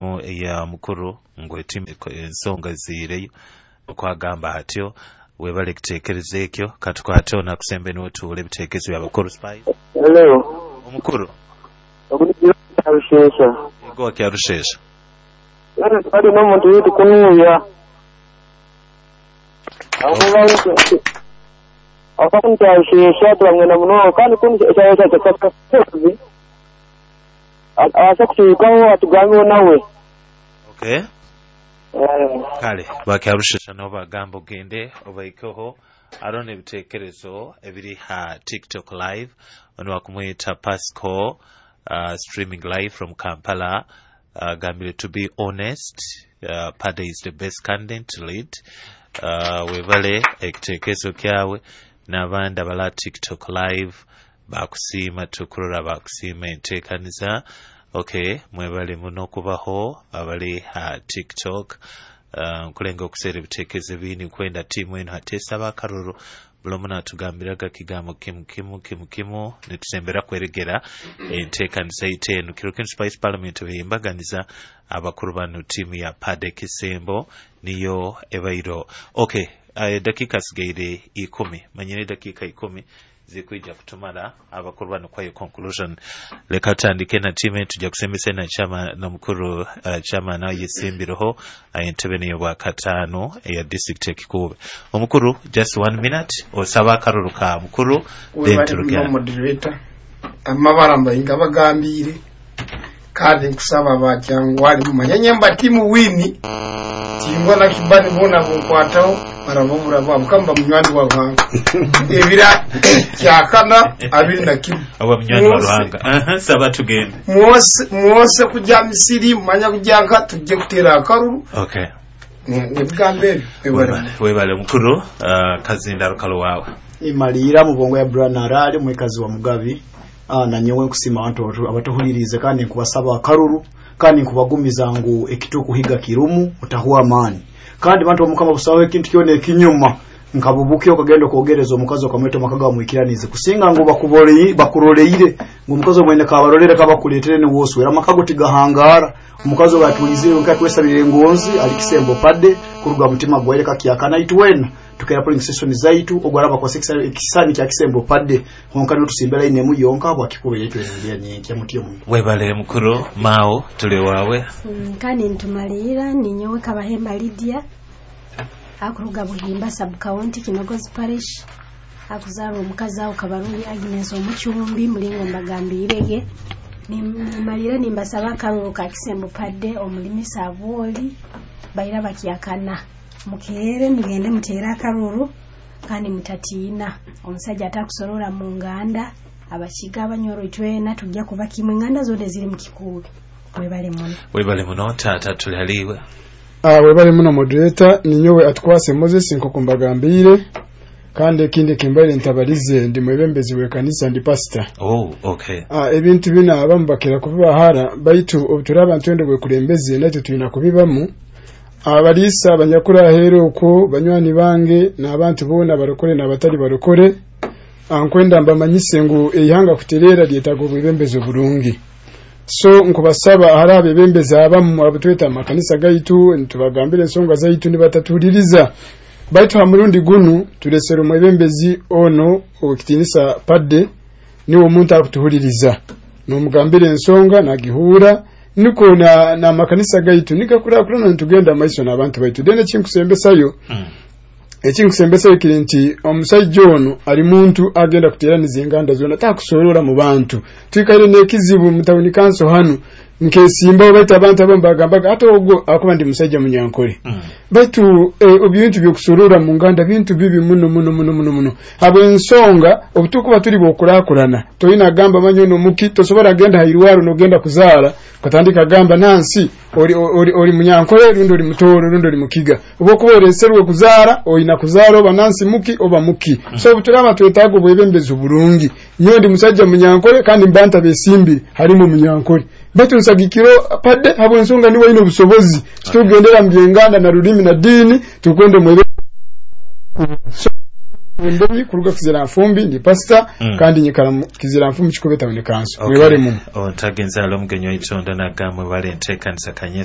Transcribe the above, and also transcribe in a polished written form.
Eya mukuru ngu ensonga ziireyo okwagamba atyo. Webale kiteekereza ekyo. Katukwate onakusembe n'otuula ebiteekerezo bya bakuru. Spice. Hello. Omukuru. Ogurushesha. Ego, wakyarushesha. Bali n'omuntu yitu kunuya. Abakunkyashesha turamwenda muno, kandi kunkyashesha abasha kuturukaho atugambeho nawe. Okay. Kale bakyarushesha nabo bagamba ogende obaikeho. Aro n'ebiteekerezo ebiri ha TikTok Live. Ono wakumwita Pasco, streaming live from Kampala, gambire, "To be honest, Pade is the best candidate to lead." Webale ekiteekerezo kyawe. N'abandi abala TikTok Live bakusiima, tukurora bakusiima enteekaniza. Okay, mwebale muno okubaho abali ha TikTok. Nkulenga okuseera ebiteekerezo ebindi. Nkwenda tiimu eno hatesaba akaruru. Buli omu natugambiraga kigambo kimu kimu kimu kimu, nitusembera kweregera enteekaniza yaitu eno. Kiro kinu Spice Parliament beyembaganiza abakuru bano, tiimu ya Pade Kisembo niyo ebairo. Okay, dakika sigaire 10. Manyire dakika 10 zikwija kutumala abakuru bano kwayo conclusion. Leka tutandike na tiimu, tujja kusembesa na chama na mukuru, chama nayo yesimbireho entebe niyo bwakataano eya district ekikuube. Omukuru, just one minute, osaba akaruru ka mukuru, then turugera. Moderator, amabara mbayinga bagambire, kandi nkusaba bakyangwali mumanye mba timu wini tingwa na kibani bona bunkwataho barababura babo kamba munywani wa Ruhanga ebira kyakana 21. Aba munywani wa Ruhanga. Aha, saba tugende. Mwose mwose kujya Misiri manya kujyanka tujye kutera akaruru. Nebigambo ebyo. Webale, webale mukuru. Kazinda rukalo wawe. Imalira mubongo ya Brian mwikazi wa Mugabi. Na nyowe nkusima abantu abatuhulirize, kandi nkubasaba akaruru, kandi nkubagumiza ngu ekitukuhiga kirumu utahuwa amani. Kandi bantu bamukama, busaho ekintu kyona ekinyuma nkabubuke okagenda okwogereza omukazi okamweta omaka gamwikiranize, kusinga ngu bakuroleire ngu omukazi omwene kabarolere kabakuletere niwoswera amaka go tigahangara. Omukazi oyo atulizire nkatwesabire engonzi ali Kisembo Pade kuruga mutima gwaire kakyakana. Itwena tukera polling station zaitu ogwaraba kwa ekisani kya Kisembo Pade honka notusimbera ine yonka bwakikube yetu endia nyenkya mutyo mu. Webale mukuru. Mao, tuli wawe. Kandi ntumalira ninyowe Kabahemba Lydia, akuruga Buhimba sub county, Kinogozi parish, akuzarwa omukazi awo Kabarungi Agnes Omucyumbi mulingo mbagambirege. Nimalira nimbasaba akaruru ka Kisembo Padde omulimisa abwoli baira bakyakana. Mukeere mugende muteere akaruru, kandi mutatiina omusajja atakusorora mu nganda. Abakiga, Abanyoro, itwena tujja kuba kimwe, enganda zonna ziri mu Kikuube. Webale muno. Webale muno. Tata, tuli haliwe. Webale muno moderator. Ninyowe Atkwase Moses nkoko mbagambire, kandi ekindi kimbaire ntabalize, ndi mwebembezi w'ekanisa, ndi pastor. Oh, okay. Ebintu bino abamu bakira kubibahara, baitu obuturaba ntwende bwekulembeze naitwe tulina kubibamu. Abaliisa abanyakura aheera okwo, banywani bange n'abantu boona, barokore n'abatali barokore, nkwenda mbamanyise ngu eihanga kutereera lyetaaga obwebembezi oburungi. So nkubasaba, hari abebembezi abamu abutweta amakanisa gaitu nitubagambira ensonga zaitu nibatatuliriza, baitu ha murundi gunu turesere omwebembezi ono owekitinisa Padde. Niwe omuntu akutuhuliriza, nomugambira ensonga nagihuura, niko na makanisa gaitu nigakurakurana, nitugenda maiso n'abantu baitu. Then ekinkusembesayo, ekinkusembesayo kiri nti omusajja ono ali muntu agenda kuteraniza enganda zona, takusorora mu bantu. Twikaire n'ekizibu mu tawuni kanso hanu, nkesimbaho, baitu abantu abamu bagambaga ate ogwo akuba ndi musajja Munyankole. Baitu ebintu byokusorora mu nganda bintu bibi muno muno muno muno muno, habwensonga obutukuba tuli bwokurakurana toyina agamba manyo nomuki tosobola genda hairwaro nogenda kuzaara katandika gamba nansi oli Munyankole rundi oli Mutooro rundi oli Mukiga. Oba okuba oreserwe kuzaara oyina kuzaara oba nansi muki oba muki. So obuturaba twetaaga obwebembezi oburungi. Nyowe ndi musajja Munyankole, kandi mbanta besimbire harimu Munyankole, baitu nsagikiro Padde habwensonga niwe ayina obusobozi. Titugendera mu byenganda na rulimi na diini, tukwenda mwebe. So Ndemi kuruga Kizira Nfumbi, ndi pastor. Kandi nyikara mu Kizira Nfumbi, Kikube town council. Mwebale muno. Ontagenza alo omugenyi waitonda nagamwe bale enteekanisa kanye.